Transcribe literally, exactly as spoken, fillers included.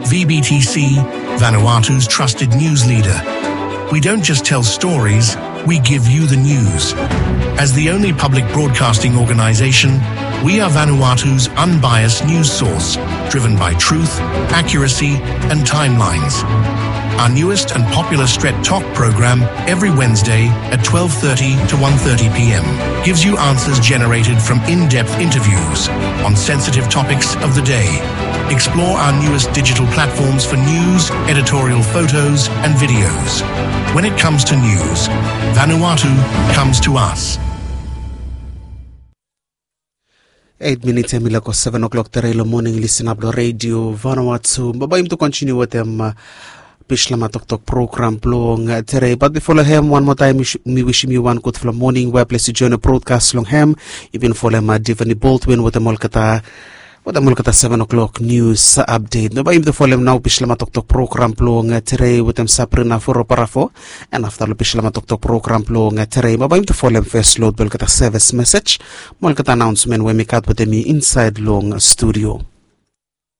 V B T C, Vanuatu's trusted news leader. We don't just tell stories, we give you the news. As the only public broadcasting organization, we are Vanuatu's unbiased news source, driven by truth, accuracy, and timelines. Our newest and popular Stret Talk program every Wednesday at twelve thirty to one thirty p m gives you answers generated from in-depth interviews on sensitive topics of the day. Explore our newest digital platforms for news, editorial photos, and videos. When it comes to news, Vanuatu comes to us. Eit minit em i lako seven o'clock tere long moning, lisin ap long redio Vanuatu. Baba im tu kontiniu wetem uh, Bislama Toktok program blong uh, tere. Bat bifo long hem wan moa taem mi wisim yu wan gudfala moning we ples i join brodkas long hem. Yu bin folem uh, Divani Baldwin wetem olgeta wetem olgeta seven o'clock news update. Baba im tu folem nao Bislama Toktok program blong uh, tere wetem Sabrina Foroparafo. En afta long Bislama Toktok program blong uh, tere baba im tu folem fes lod blong olgeta sevis mesej mo olgeta anaonsmen we mi gat wetem mi insaed long studio.